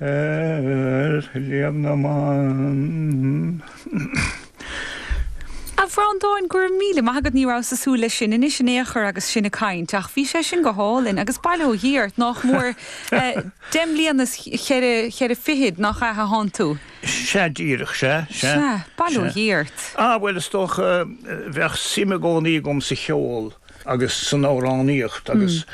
Ar Shliabh na mBan. A Bhreandáin, go raibh míle maith agat, ní rabhas ag súil leis sin anois in aon chor agus sinn ag caint, ach bhí sé sin go hálainn agus bail ó Dhia ort, nách mór deich mbliana is cheithre, cheithre fichid, nach ea a thánn tú? Sea, díreach, sea, sea. Sea, bail ó Dhia ort. Ah, bhuel, is dócha, bheadh suim i gcónaí agam sa cheol agus san amhránaíocht agus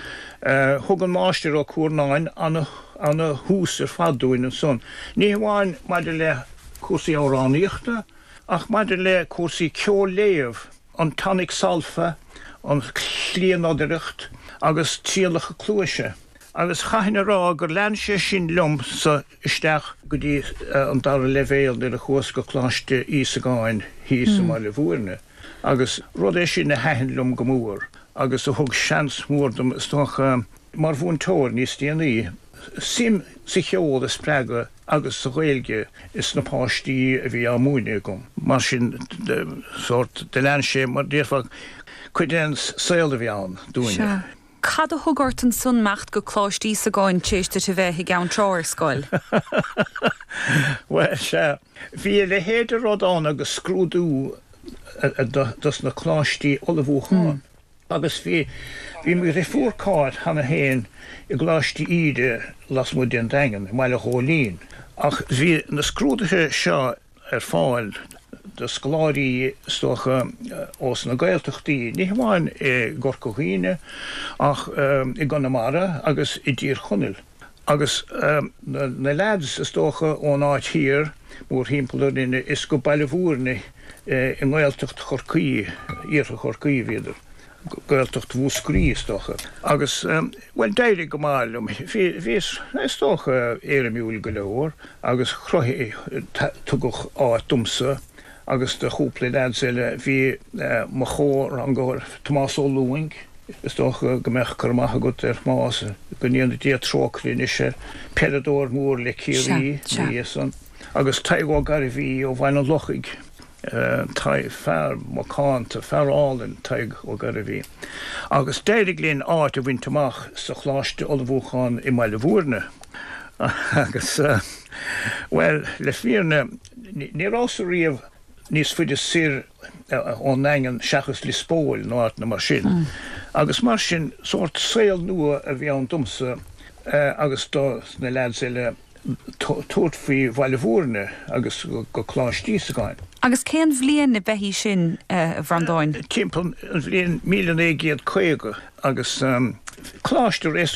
thug an Máistir Ó Cuarnáin ana-thús ar fad dúinn ansan, ní hamháin maidir le cúrsaí amhránaíochta ach maidir le cúrsaí ceol-léamh, an tonic solfa, an chliathnodaireacht agus trialacha cluaise. Agus chaithfinn a rá gur lean sé sin liomsa isteach go dtí an dara leibhéal nuair a chuas go Coláiste Íosagáin thíos i mBaile Bhúirne. Agus rud é sin a thaitin liom go mór agus a thug seans mór dom, is dócha, mar mhúinteoir níos déanaí, suim sa cheol a spreagadh agus sa Ghaeilge is na páistí a bhí á múineadh agam. Mar sin, sórt, do lean sé, mar déarfá, cuid den saol a bhí ann dúinne. Sea. Cad a thug ort ansan imeacht go Coláiste Íosagáin tar éis duit a bheith i gCeann Trá ar scoil? Bhuel, sea, bhí a leithéid de rud ann agus scrúdú dos na coláistí ullmhúcháin. Agus bhí, bhí mo dhrifiúr Cáit cheana féin i gColáiste Íde lasmuigh den Daingean, i mBaile Ghóilín. Ach bhí na scrúduithe seo ar fáil do scoláirí, is dócha, ós na Gaeltachtaí, ní hamháin i gCorca Dhuibhne ach i gConamara agus i dTír Chonaill. Agus na leaids, is dócha, ón áit thiar, mórthimpeall orainne, is go Baile Bhúirne i nGaeltacht Chorcaí, Iarthar Chorcaí a bhíodar. Gaeltacht Mhúscraí, is dócha. Agus, bhuel, d'éirigh go maith liom. Bhí, bhíos, is dócha, éirimiúil go leor agus chruthaigh, tugadh áit domsa agus do chúpla leaids eile. Bhí mo chomhrangóir, Tomás Ó Lúing, is dócha go mbeadh cur amach agat ar Thomás, go ndéana Dia trócaire anois air, peileadóir mór le Ciarraí ina dhiaidh san, agus Tadhg Ó Gairbhí ó Bhaile an Lochaigh. Tadhg, fear macánta, fear álainn, Tadhg Ó Gairbhí. Agus d'éirigh linn áit a bhaint amach sa Choláiste Ullmhúcháin i mBaile Bhúirne. Agus, bhuel, le fírinne, ní rabhas riamh níos faide soir ón nDaingean seachas Lios Póil nó áiteanna mar sin. Agus mar sin, sórt saol nua a bhí ann domsa agus do na leaids eile. tabhairt faoi Bhaile Bhúirne agus go Coláiste Íosagáin. Agus cén bhliain ab ea í sin, a Bhreandáin? Timpeall an bhliain 1950 agus coláiste.